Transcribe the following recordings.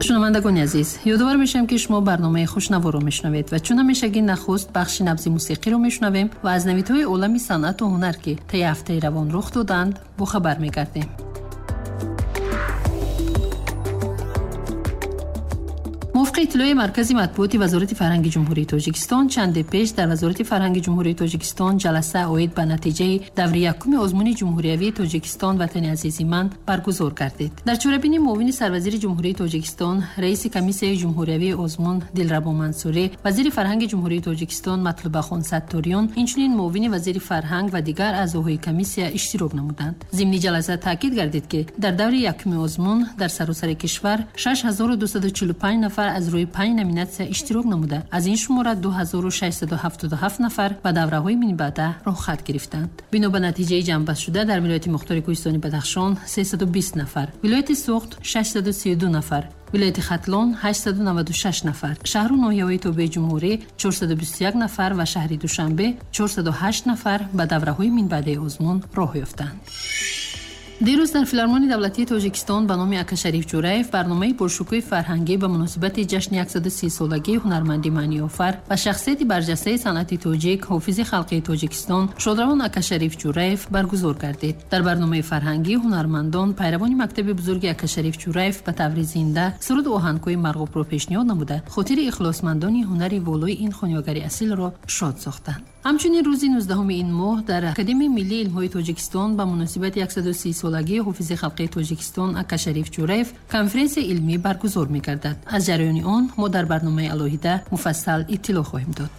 Шунавандагони азиз, ёдовар мешавем, ки шумо барномаи Хушнаворо мешунавед ва чун ҳамешагӣ нахуст бахши Набзи мусиқиро мешунавем ва аз навидҳои олами санъату ҳунар, ки таи ҳафтаи равон рух доданд, бохабар мегардем. Мувофиқи иттилои Маркази матбуоти Вазорати фарҳанги Ҷумҳурии Тоҷикистон, чанде пеш дар Вазорати фарҳанги Ҷумҳурии Тоҷикистон ҷаласа оид ба натиҷаи даври якуми озмуни ҷумҳуриявии Тоҷикистон «Ватани азизи ман» баргузор гардид. Дар чорабинӣ муовини сарвазири Ҷумҳурии Тоҷикистон, раиси комиссияи ҷумҳуриявии озмун Дилрабо Мансурӣ, вазири фарҳанги Ҷумҳурии Тоҷикистон Матлубахон Сатториён, инчунин муовини вазири фарҳанг ва дигар аъзоҳои комиссия иштирок намуданд. Зимни ҷаласа таъкид гардид, ки дар даври якуми озмун дар саросари кишвар 6245 нафар аз рӯи панҷ номинатсия иштирок намуда, аз ин шумора 2677 нафар ба давраҳои минбаъда роҳхат гирифтанд. Бино ба натиҷаи ҷамъбастшуда, дар вилояти мухтори Кӯҳистони Бадахшон 320 нафар, вилояти Суғд 632 нафар, вилояти Хатлон 896 нафар, шаҳру ноҳияҳои тобеи ҷумҳурӣ 421 нафар ва шаҳри Душанбе 408 нафар ба давраҳои минбаъдаи озмун роҳ ёфтанд. Дирӯз дар Филармонии давлатии Тоҷикистон ба номи Акашариф Ҷураев барномаи пуршукӯҳи фарҳангӣ ба муносибати ҷашни 130-солагии ҳунарманди маъниофар ва шахсияти барҷастаи санъати тоҷик, ҳофизи халқии Тоҷикистон, шодравон Акашариф Ҷураев баргузор гардид. Дар барномаи фарҳангӣ ҳунармандон, пайравони мактаби бузурги Акашариф Ҷураев, ба таври зинда суруду оҳангҳои марғубро пешниҳод намуда, хотири ихлосмандони ҳунари волои ин хонёгари асилро шод сохтанд. Ҳамчунин рӯзи 19 ин моҳ дар Академияи миллии илмҳои Тоҷикистон ба муносибати 130-солагии ҳофизи халқии Тоҷикистон Акашариф Ҷураев конференсияи илмӣ баргузор мегардад. Аз ҷараёни он мо дар барномаи алоҳида муфассал иттилоъ хоҳем дод.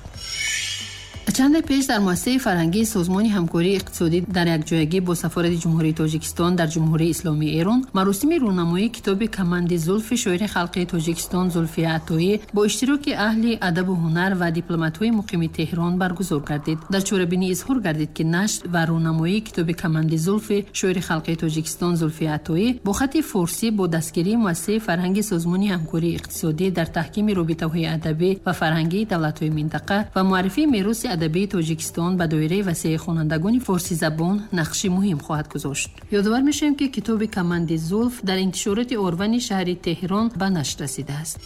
Чанде пеш дар муассисаи фарҳангии Созмони ҳамкории иқтисодӣ дар якҷоягӣ бо Сафорати Ҷумҳурии Тоҷикистон дар Ҷумҳурии Исломии Эрон маросими рӯнамоии китоби «Каманди зулфи» шоири халқии Тоҷикистон Зулфия Атоӣ бо иштироки аҳли адабу ҳунар ва дипломатҳои муқими Теҳрон баргузор гардид. Дар чорабинӣ изҳор гардид, ки нашр ва рӯнамоии китоби «Каманди зулфи» шоири халқии Тоҷикистон Зулфия Атоӣ бо хати форсӣ бо дастгирии муассисаи фарҳанги Созмони ҳамкории иқтисодӣ дар таҳкими робитаҳои адабӣ ва фарҳангии давлатҳои минтақа ва муаррифии мероси адабии Тоҷикистон ба доираи васеи хонандагони форсизабон нақши муҳим хоҳад гузошт. Ёдовар мешавем, ки китоби «Каманди зулф» дар интишороти Орвани шаҳри Теҳрон ба нашр расидааст.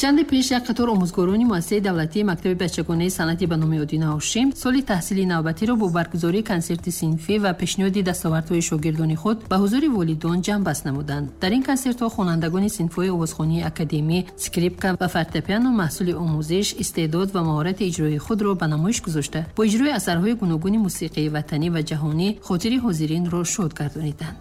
Чанде пеш як қатор омӯзгорони муассисаи давлатии мактаби бачагонаи санъати ба номи Одина Ҳошим соли таҳсили навбатиро бо баргузории консерти синфӣ ва пешниҳоди дастовардҳои шогирдони худ ба ҳузури волидон ҷамъбаст намуданд. Дар ин консертҳо хонандагони синфҳои овозхонии академӣ, скрипка ва фортепиано маҳсули омӯзиш, истеъдод ва маҳорати иҷроии худро ба намоиш гузошта, бо иҷрои асарҳои гуногуни мусиқии ватанӣ ва ҷаҳонӣ хотири ҳозиринро шод гардониданд.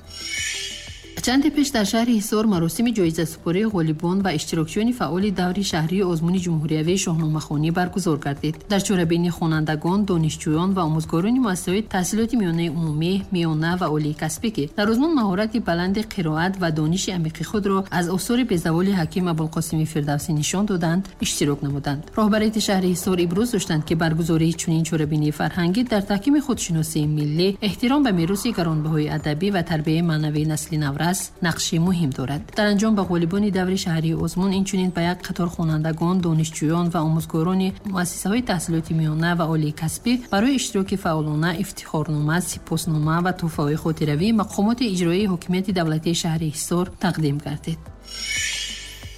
Чанде пеш дар шаҳри Ҳисор маросими ҷоизасупории ғолибон ва иштирокчиёни фаъоли даври шаҳрии озмуни ҷумҳуриявии шоҳномахонӣ баргузор гардид. Дар чорабинӣ хонандагон, донишҷӯён ва омӯзгорони муассисаҳои таҳсилоти миёнаи умумӣ, миёна ва олии касбӣ, ки дар озмун маҳорати баланди қироат ва дониши амиқи худро аз осори безаволи ҳаким Абулқосими Фирдавсӣ нишон доданд, иштирок намуданд. Роҳбарияти шаҳри Ҳисор ибрӯз доштанд, ки баргузории чунин чорабинии фарҳангӣ дар таҳкими худшиносии миллӣ, эҳтиром ба мероси гаронбаҳои адабӣ ва тарбияи маънавии насли наврас нақши муҳим дорад. Дар анҷом ба ғолибони даври шаҳрии озмун, инчунин ба як қатор хонандагон, донишҷӯён ва омӯзгорони муассисаҳои таҳсилоти миёна ва олии касбӣ барои иштироки фаъолона ифтихорнома, сипоснома ва тӯҳфаҳои хотиравии мақомоти иҷроии ҳокимияти давлатии шаҳри Ҳисор тақдим гардид.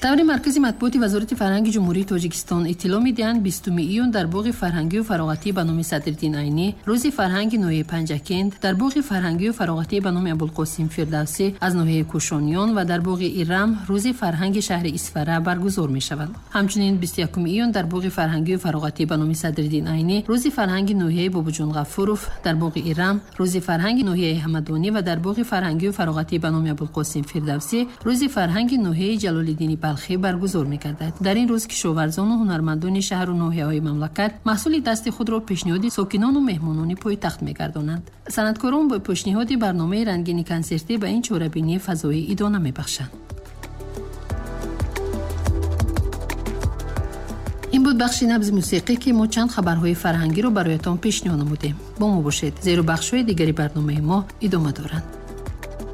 Таври Маркази матбуоти Вазорати фарҳанги Ҷумҳурии Тоҷикистон иттилоъ медиҳанд, 20 июн дар боғи фарҳангию фароғатӣ ба номи Садриддин Айнӣ рӯзи фарҳанги ноҳияи Панҷакент, дар боғи фарҳангию фароғатӣ ба номи Абулқосим Фирдавсӣ аз ноҳияи Кӯшониён ва дар боғи Ирам рӯзи фарҳанги шаҳри Исфара баргузор мешавад. Ҳамчунин 21 июн дар боғи фарҳангию фароғатӣ ба номи Садриддин Айнӣ рӯзи фарҳанги ноҳияи Бобоҷон Ғафуров, дар боғи Ирам рӯзи фарҳанги ноҳияи Ҳамадонӣ ва дар боғи фарҳангию фароғатӣ ба номи Абулқосим Фирдавсӣ рӯзи фарҳанги ноҳияи Ҷалолиддини Балхӣ баргузор мегардад. Дар ин рӯз кишоварзону ҳунармандони шаҳру ноҳияҳои мамлакат маҳсули дасти худро пешниҳоди сокинону меҳмонони пойтахт мегардонанд. Санъаткорон бо пешниҳоди барномаи рангини консертӣ ба ин чорабинӣ фазои идона мебахшанд. Ин буд бахши Набзи мусиқӣ, ки мо чанд хабарҳои фарҳангиро бароятон пешниҳод намудем. Бо мо бошед, зеро бахшҳои дигари барномаи мо идома доранд.